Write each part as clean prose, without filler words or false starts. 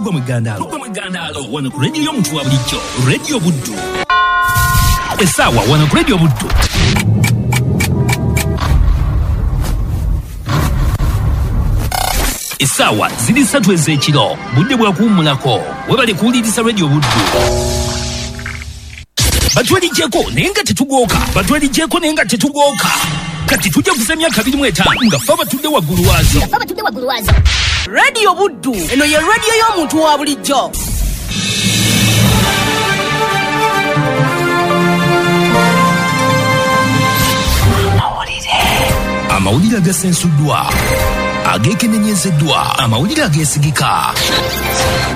Tugwa mu ggandaalo wano ku rediyo y'omuntu wa bulijjo, Radio Buddu. Essaawa wano ku Radio Buddu. Essaawa ziri 3 ez'ekiro, budde bwa kuwummulako. Webale kuwuliriza Radio Buddu. Batwelijjeko naye nga tetugooka, batwelijjeko naye nga tetugooka. Kati tujja kuza emyaka 25 nga ffe abatudde waggulu waazo. Radio Buddu, eno ye radio y'omuntu wa bulijjo. Amawulire agasensuddwa, ageekenenyezeddwa, amawulire ageesigika.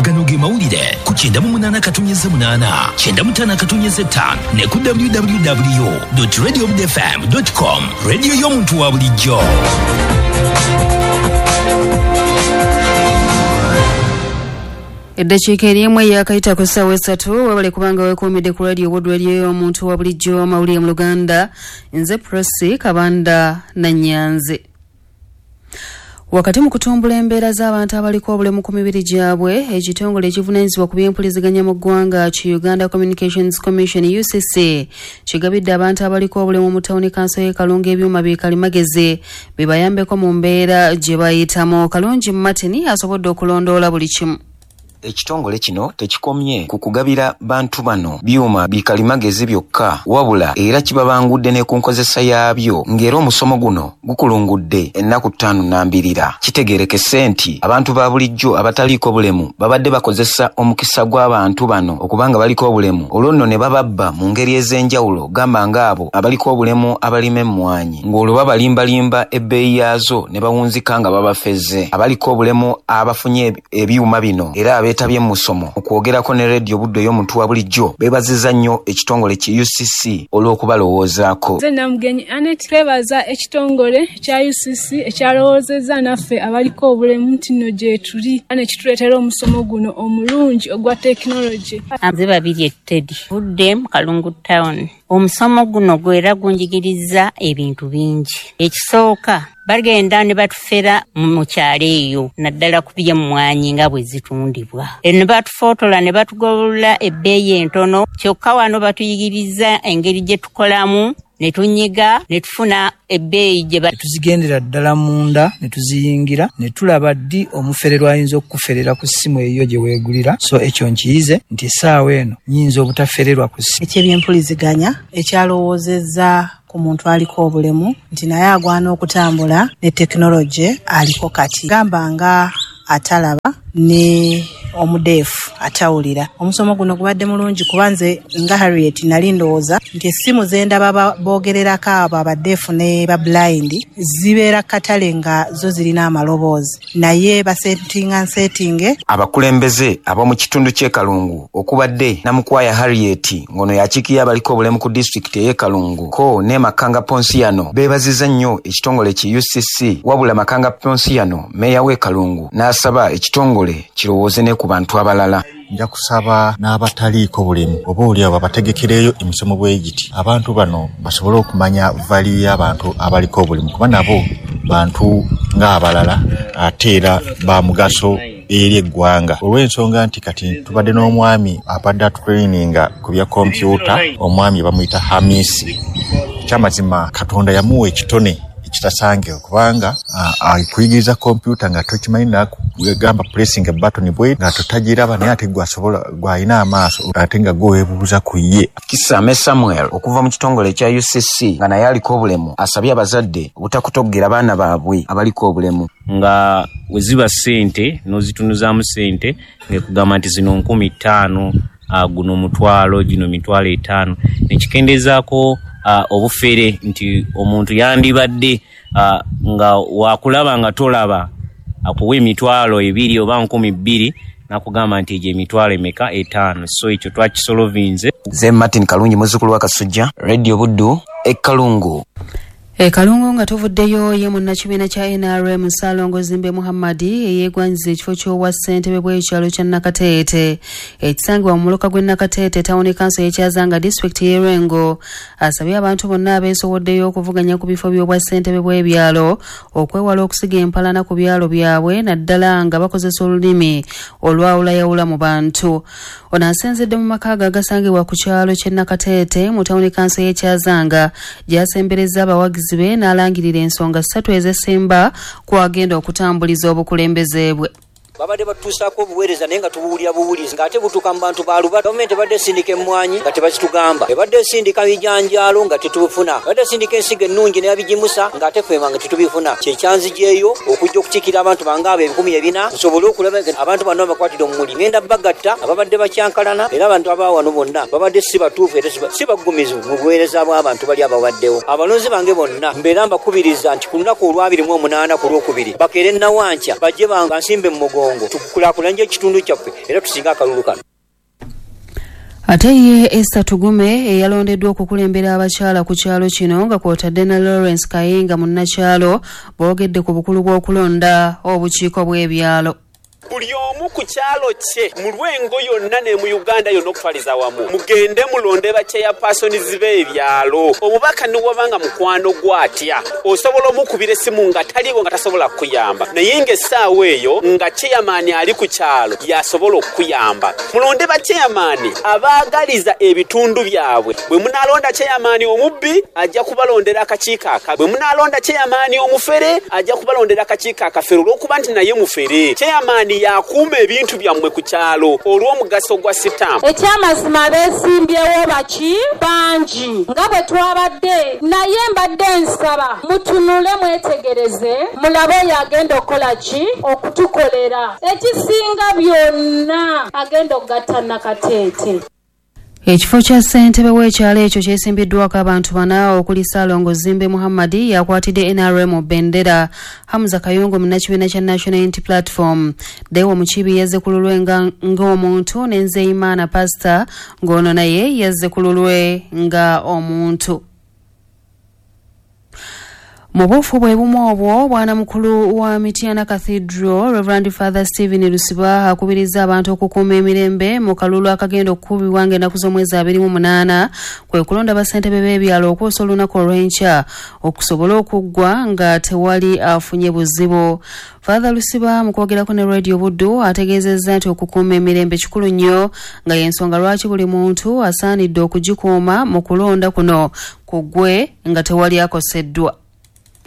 Gano ge mawulire ku 98.8, 95.5 ne ku www.radiobudfm.com. Radio y'omuntu wa bulijjo. Eddakiika erimu eyakayita ku ssaawa 3, webale kubanga weekuumidde ku Radio Buddu, radio y'omuntu wa bulijjo, amawulire mu Luganda. Nze Prossy Kabanda Nannyanzi. Wakati mu kutumbula embeera z'abantu abaliko obulemu ku mibiri gyabwe, ekitongole ekivunaanyizibwa ku by'empuliziganya mu ggwanga ki Uganda Communications Commission UCC kigabidde abantu abaliko obulemu mu tawuni kanso y'e Kalungu ebyuma bi kalimagezi bibayambeko mu mbeera gye bayitamu. Kalungi Martin asobodde okulondoola buli kimu. Ekitongole kino tekikomye ku kugabira bantu bano byuma bikalimagezi byokka, wabula era kibabangudde ne ku nkozesa yaabyo, ng'era omusomo guno gukulungudde ennaku 5 nambirira. Kitegeerekese nti abantu ba bulijjo abataliiko bulemu babadde bakozesa omukisa gw'abantu bano okubanga baliko obulemu, olwo nno ne bababba mu ngeri ez'enjawulo, gamba ng'abo abaliko obulemu abalima emmwanyi, ng'olwo babalimbalimba ebbeeyi yaazo ne bawunzika nga babafeze. Abaliko obulemu abafunye ebyuma bino era abeetabye mu musomo okwogerako ne Radio Buddu ey'omuntu wa bulijjo beebazizza nnyo ekitongole ki UCC olw'okubalowoozaako. Nze Namugenyi Anet, twebaza ekitongole kya UCC ekyalowoozezza naffe abaliko obulemu nti nno gye tuli ne kituleetera omusomo guno omulungi ogwa tekinologi. Nze Babirye Teddy, Budde mu Kalungu Town. Omusomo guno gwera gunjigiriza ebintu bingi. Ekisooka, bagenda ne batufera mu kyalo eyo, naddala ku by'emmwanyi nga bwe zitundibwa. Ne batufootola ne batugolola ebbeeyi entono, kyokka wano batuyigiriza engeri gye tukolamu, ne tunyiga ne tufuna ebbeeyi gye tuzigendera ddala munda ne tuziyingira ne tulaba ddi omufererwa ayinza okukuferera ku ssimu eyo gye weegulira. So ekyo nkiyize nti essaawa eno nnyinza obutafererwa ku ssimu. Eky'ebyempuliziganya ekyalowoozezza ku muntu aliko obulemu nti naye agwana okutambula ne tekinologi aliko kati, gamba nga atalaba ne omudeefu atawulira. Omusomo guno gubadde mulungi kuba nze nga Harriet nali ndowooza nti essimu ze ndaba boogererako abo abadeefu ne ba blind zibeera katale nga zo zirina amaloboozi, naye basetinga nsetinge. Abakulembeze ab'omu kitundu ky'e Kalungu okubadde Namukwaya Harriet ng'ono yakiikirira abaliko obulemu ku disitulikiti ey'e Kalungu ko ne Makanga Ponsiano beebazizza nnyo ekitongole ki UCC, wabula Makanga Ponsiano meeya w'e Kalungu n'asaba ekitongole kirowooze ne ku bantu abalala. Nja kusaba n'abataliiko bulemu oba oliawo babategekereyo emisomo bwe giti, abantu bano basobole okumanya value y'abantu abaliko obulemu, kuba nabo bantu ng'abalala ate era ba mugaso eri eggwanga. Olw'ensonga nti kati tubadde n'omwami abadde atutraininga ku bya kompyuta, omwami bamuyita Hamisi. Ekyamazima Katonda yamuwa ekitone ekitasange, kubanga akuyigiriza kompyuta nga tokimanyi, nakugamba pressing a button bwe nga totagiraba, naye ate gwasobola gwalina amaaso ate nga gwe weebuuza ku ye. Kisame Samuel okuva mu kitongole ekya UCC nga naye aliko obulemu asabye abazadde obutakutogera baana baabwe abaliko obulemu. Nga we ziba ssente n'ozitunuzaamu ssente ng'ekugamba nti zino 5,000, guno 1,000, gino 5,000, nekikendeezaako obufere nti omuntu yandibadde nga wakulaba nga tolaba akuwa 2,000 oba 2,000 nakugamba nti egyo 5,000. So ekyo twakisolovinze. Nze Martin Kalungi muzzukulu wa Kasujja, Radio Buddu e Kalungu. E Kalungu nga tuvuddeyo, ye munnakibiina kya NRM Ssaalongo Zimbe Muhammadi eyeegwanyiza ekifo ky'obwa ssentebe bw'ekyalo kya Nakateete ekisangibwa mu muluka gw'e Nakateete, tawuni kanso y'e Kyazanga, disitulikiti y'e Lwengo, asabye abantu bonna abeesowoddeyo okuvuganya ku bifo by'obwa ssentebe bw'ebyalo okwewala okusiga empalana ku byalo byabwe, naddala nga bakozesa olulimi olwawulayawula mu bantu. Ono asinzidde mu maka ge agasangibwa ku kyalo ky'e Nakateete mu tawuni kanso y'e Kyazanga, gy'asemberezza abawagizi be n'alangirira ensonga ssatu ezesemba kw'agenda okutambuliza obukulembeze bwe. Babadde batutuusaako obuweereza naye nga tubuwulira buwulizi ng'ate butuuka mu bantu ba luba. Gavumenti ebadde esindika emmwanyi nga tebazitugamba, ebadde esindika bijanjaalo nga tetubifuna, ebadde esindika ensigo ennungi n'ebigimusa ng'ate ffe nga tetubifuna. Kye kyanzigyeyo okujja okukiikirira abantu bange abo 4000 nsobole okulaba nga abantu bano babakwatira omumuli. Ngenda bagatta ababadde bakyankalana, era abantu aba wano bonna babadde si batuufu era si baggumivu mu buweereza bw'abantu bali ababaddewo. Abalonzi bange bonna mbeera mbakubiriza nti ku lunaku olw'abiri mu omunaana ku Lwokubiri bakeere Nawankya bajje bansimbe mu mugongo tukulaakulanye ekitundu kyaffe era tusinge akalulu kano. Ate ye Esther Tugume eyalondeddwa okukulembera abakyala ku kyalo kino nga kw'otadde ne Lawrence Kayinga munnakyalo, boogedde ku bukulu bw'okulonda obukiiko bw'ebyalo. Buli omu ku kyalo kye mu Lwengo yonna ne mu Uganda yonna okutwaliza awamu, mugende mulonde ba chairpersons b'ebyalo. Omubaka ni bw'aba nga mukwano gwo atya, osobola omukubira esimu nga taliiwo nga tasobola kukuyamba, naye nga essaawa eyo nga chairman ali ku kyalo y'asobola okukuyamba. Mulonde ba chairman abaagaliza ebitundu byabwe. Bwe munaalonda chairman omubbi, ajja kubalondera akakiiko akabi. Bwe munaalonda chairman omufere, ajja kubalondera akakiiko akafere olw'okuba nti naye mufere. Chairman yakuuma ebintu byammwe ku kyalo olw'omugaso gwa sitampu. Ekyamazima abeesimbyewo baki bangi nga bwe twabadde, naye mbadde nsaba mutunule mwetegereze mulabe oyo agenda okukola ki okutukolera. Ekisinga byonna agenda okugatta Nakateete. Ekifo kya ssentebe w'ekyalo ekyo kyesimbiddwako abantu bana okuli Ssaalongo Zimbe Muhammadi yakwatidde NRM bendera, Hamza Kayongo munnakibiina kya National Unity Platform, Deo Mukiibi yazze ku lulwe ng'omuntu, ne Nzeyimana Pastor ng'ono naye yazze ku lulwe nga omuntu. Mu buufu bwe bumu obwo, bwana mukulu wa Mityana Cathedral Reverend Father Stephen Lusiba akubiriza abantu okukuuma emirembe mu kalulu akagenda okukubibwa ng'ennaku z'omwezi 28, kwe kulonda bassentebe b'ebyalo okwosa olunaku olw'enkya okusobola okuggwa nga tewali afunye buzibu. Father Lusiba mu kwogerako ne Radio Buddu ategeezezza nti okukuuma emirembe kikulu nnyo, nga y'ensonga lwaki buli muntu asaanidde okugikuuma mu kulonda kuno kuggwe nga tewali akoseddwa.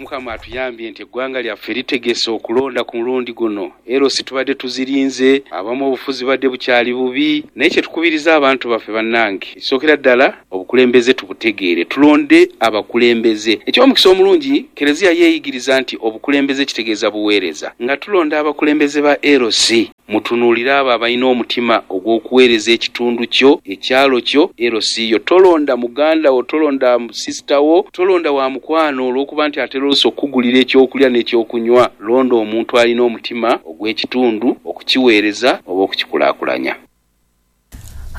Mukama atuyambye nti eggwanga lyaffe litegese okulonda ku mulundi guno. LC tubadde tuzirinze, abamu obufuzi badde bukyali bubi, naye kye tukubiriza abantu baffe bannange, ekisookera ddala obukulembeze tubutegeere, tulonde abakulembeze. Eky'omukisa omulungi, Kereziya yeeyigiriza nti obukulembeze kitegeeza buweereza. Nga tulonda abakulembeze ba LC, mutunuulire abo abalina omutima ogw'okuweereza ekitundu kyo, ekyalo kyo, LC yo. Tolonda muganda wo, tolonda sisita wo, tolonda wa mukwano olw'okuba nti atera oluusi okukugulira ekyokulya n'ekyokunywa. Londa omuntu alina omutima ogw'ekitundu okukiweereza oba okukikulaakulanya.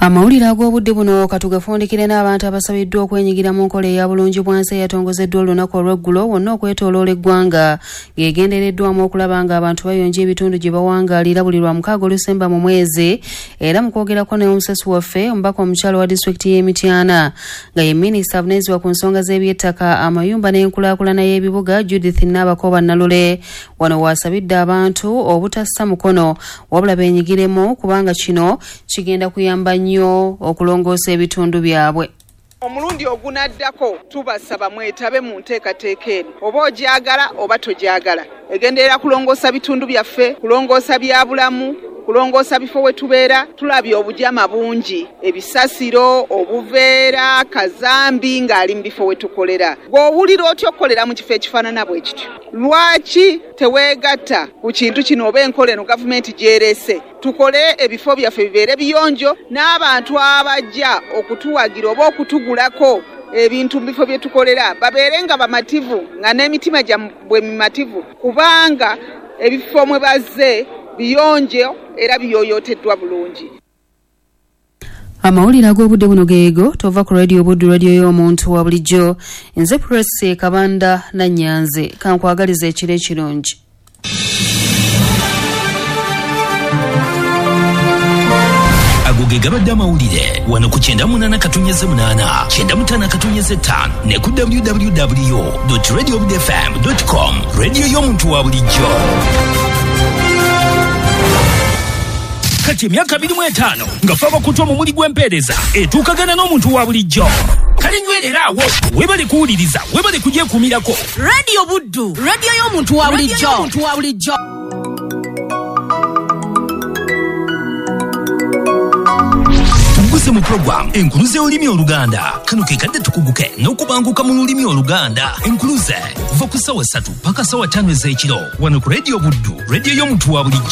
Amawulire ag'obudde buno katugafundikire n'abantu abasabiddwa okwenyigira mu nkola eya bulungi bwansi eyatongozeddwa olunaku olw'eggulo wonna okwetooloola eggwanga, ng'egendereddwamu okulaba ng'abantu bayonja ebitundu gye bawangaalira buli lwa mukaaga olusemba mu mwezi. Era mu kwogerako n'omusasi waffe, omubaka omukyalo wa disitulikiti y'e Mityana nga ye minisita avunaanyizibwa ku nsonga z'ebyettaka, amayumba n'enkulaakulana y'ebibuga, Judith Nabakooba Nalule, wano waasabidde abantu obutassa mukono wabula beenyigiremu kubanga kino kigenda kuyamba nnyo okulongoosa ebitundu byabwe. Omulundi ogunaddako tubasaba mwetabe mu nteekateeka eno, oba ogyagala oba togyagala. Egenderera kulongoosa bitundu byaffe, kulongoosa byabulamu, kulongoosa bifo we tubeera. Tulabye obujama bungi, ebisasiro, obuveera, kazambi ng'ali mu bifo we tukolera. Gw'owulira otya okukolera mu kifo ekifaanana bwe kityo? Lwaki teweegatta ku kintu kino oba enkola eno gavumenti gy'ereese? Tukole ebifo byaffe bibeere biyonjo, n'abantu abajja okutuwagira oba okutugulako ebintu mu bifo bye tukolera babeere nga bamativu, nga n'emitima gyammwe mimativu, kubanga ebifo mwe bazze biyonjo era biyooyooteddwa bulungi. Amawulire ag'obudde buno geego. Tova ku Radio Buddu, radio y'omuntu wa bulijjo. Nze Presi Kabanda Nanyanze, kankwagaliza ekiro ekirungi. Ago ge gabadde amawulire wano ku 98.8, 95.5 ne ku www.radiobudfm.com, radio y'omuntu wa bulijjo. Kati emyaka 25 nga fe abakutu omumuli gw'empeereza etuukagana n'omuntu wa bulijjo. Kale nywerera awo, webale kuwuliriza, webale kugyekuumirako. Radio Buddu, radio y'omuntu wa bulijjo. Tuguse mu program Enkuluze y'olulimi Oluganda. Kano ke kadde tukuguke n'okubanguka mu lulimi Oluganda. Enkuluze okuva ku ssaawa 3 paka ssaawa 5 ez'ekiro wano ku Radio Buddu, radio y'omuntu wa bulijjo.